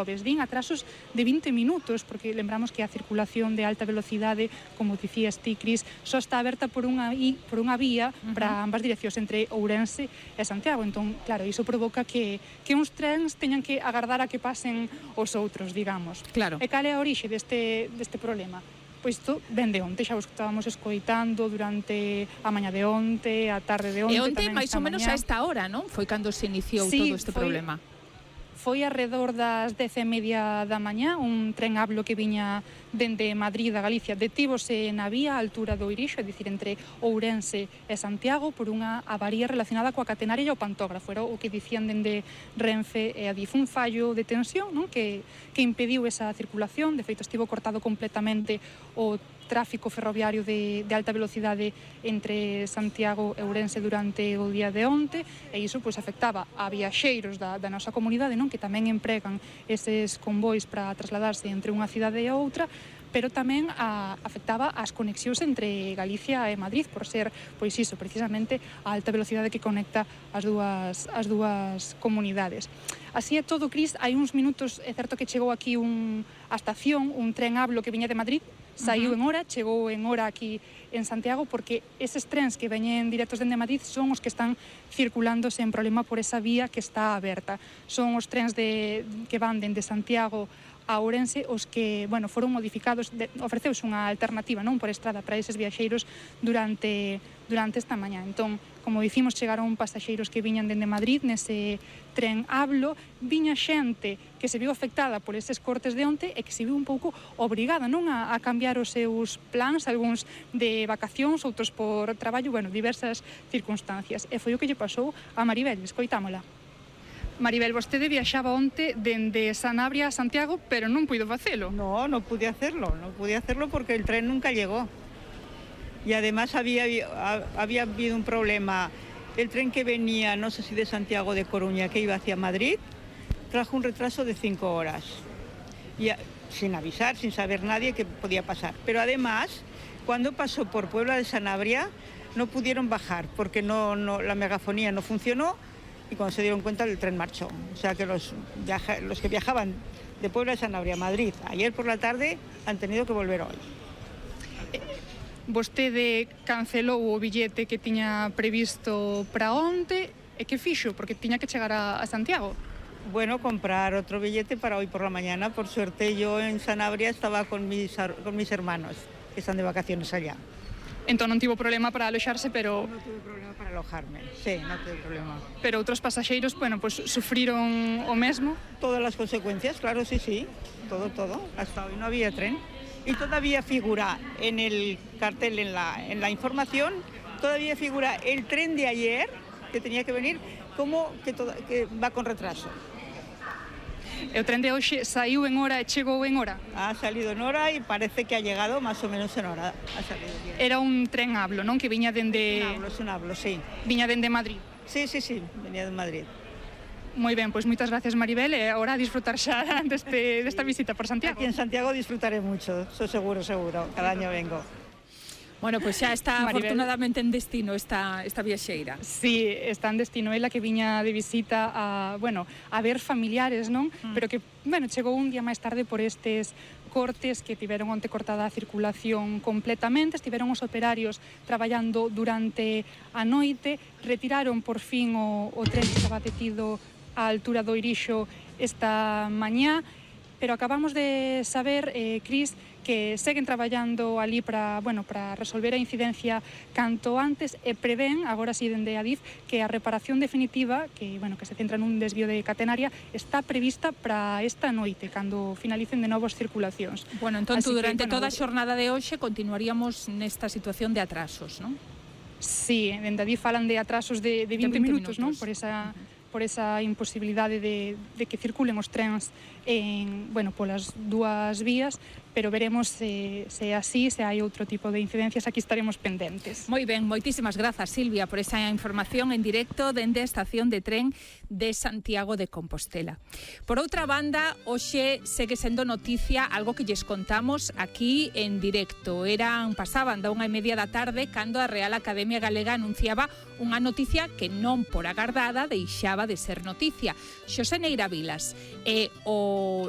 Din atrasos de 20 minutos, porque lembramos que a circulación de alta velocidade, como dicías ti, Cris, só está aberta por unha vía para ambas direccións, entre Ourense e Santiago. Entón, claro, iso provoca que uns trens teñan que agardar a que pasen os outros, digamos. Claro. E cal é a orixe deste problema? Pois isto ven de onte, xa os estábamos escoitando durante a maña de onte, a tarde de onte. E onte, máis ou menos a esta hora, non? Foi cando se iniciou todo este problema. Foi alrededor das 10:30 da mañá, un tren Ablo que viña dende Madrid a Galicia detívose na vía a altura do Irixo, é dicir, entre Ourense e Santiago, por unha avaría relacionada coa catenaria e o pantógrafo. Era o que dicían dende Renfe e Adif, un fallo de tensión, non? Que impediu esa circulación. De feito, estivo cortado completamente o tráfico ferroviario de alta velocidade entre Santiago e Ourense durante o día de onte, e iso pois afectaba a viaxeiros da nosa comunidade, non, que tamén empregan eses convois para trasladarse entre unha cidade e outra, pero tamén afectaba as conexións entre Galicia e Madrid, por ser, pois iso, precisamente a alta velocidade que conecta as dúas comunidades. Así é todo, Cris. Hai uns minutos, é certo que chegou aquí a estación, un tren Ablo que viña de Madrid, saiu en hora, chegou en hora aquí en Santiago, porque eses trens que veñen directos dende Madrid son os que están circulando sen problema por esa vía que está aberta. Son os trens que van dende Santiago a Ourense os que, foron modificados, ofreceuse unha alternativa, non, por estrada para eses viaxeiros durante esta mañá. Entón, como dicimos, chegaron pasaxeiros que viñan dende Madrid nese tren Ablo, viña xente que se viu afectada por eses cortes de onte e que se viu un pouco obrigada, non, a cambiar os seus plans, algúns de vacacións, outros por traballo, diversas circunstancias. E foi o que lle pasou a Maribel, escoitámola. Maribel, vostede viaxaba onte dende Sanabria a Santiago, pero non puido facelo. No pude hacerlo porque el tren nunca llegó. Y además había habido un problema. El tren que venía, no sé si de Santiago o de Coruña, que iba hacia Madrid, trajo un retraso de 5 horas. Y sin avisar, sin saber nadie que podía pasar. Pero además, cuando pasó por Puebla de Sanabria, no pudieron bajar porque la megafonía no funcionó. Y cuando se dieron cuenta, el tren marchó. O sea que los que viajaban de Puebla de Sanabria a Madrid ayer por la tarde han tenido que volver hoy. Vostede cancelou o billete que tiña previsto para onte, e que fixo? Porque tiña que chegar a Santiago. Bueno, comprar otro billete para hoy por la mañana. Por suerte yo en Sanabria estaba con mis hermanos, que están de vacaciones allá. Entón non tivo problema para aloxarse, pero... No tuve problema para alojarme, sí, no tuve problema. Pero outros pasaxeiros, sufriron o mesmo? Todas las consecuencias, claro, sí, todo. Hasta hoy no había tren. Y todavía figura en el cartel, en la información, todavía figura el tren de ayer, que tenía que venir, como que va con retraso. E o tren de hoxe saiu en hora e chegou en hora? Ha salido en hora y parece que ha llegado más o menos en hora. Ha salido bien. Era un tren Ablo, non? Que viña dende... Es un Ablo, sí. Viña dende Madrid? Sí, venía de Madrid. Moi ben, pois moitas gracias, Maribel, e agora a disfrutar xa desta visita por Santiago. Aquí en Santiago disfrutaré mucho, eso seguro. Cada año vengo. Bueno, pois xa está Maribel, afortunadamente en destino esta viaxeira. Sí, está en destino ela, que viña de visita a ver familiares, non? Pero que, chegou un día máis tarde por estes cortes que tiveron onte cortada a circulación completamente. Estiveron os operarios traballando durante a noite, retiraron por fin o tren que estaba detido á altura do Irixo esta mañá, pero acabamos de saber, Cris, que seguen traballando ali para resolver a incidencia canto antes, e prevén, agora si dende Adif, que a reparación definitiva, que se centra nun desvío de catenaria, está prevista para esta noite, cando finalicen de novas circulacións. Entón, durante toda a xornada de hoxe continuaríamos nesta situación de atrasos, non? Sí, dende Adif falan de atrasos de 20 minutos, non? Por esa imposibilidade de que circulen os trens polas dúas vías, pero veremos se así, se hai outro tipo de incidencias, aquí estaremos pendentes. Moi ben, moitísimas grazas, Silvia, por esa información en directo dende a estación de tren de Santiago de Compostela. Por outra banda, hoxe segue sendo noticia algo que lles contamos aquí en directo. Pasaban da 1:30 da tarde cando a Real Academia Galega anunciaba unha noticia que non por agardada deixaba acaba de ser noticia. Xosé Neira Vilas é o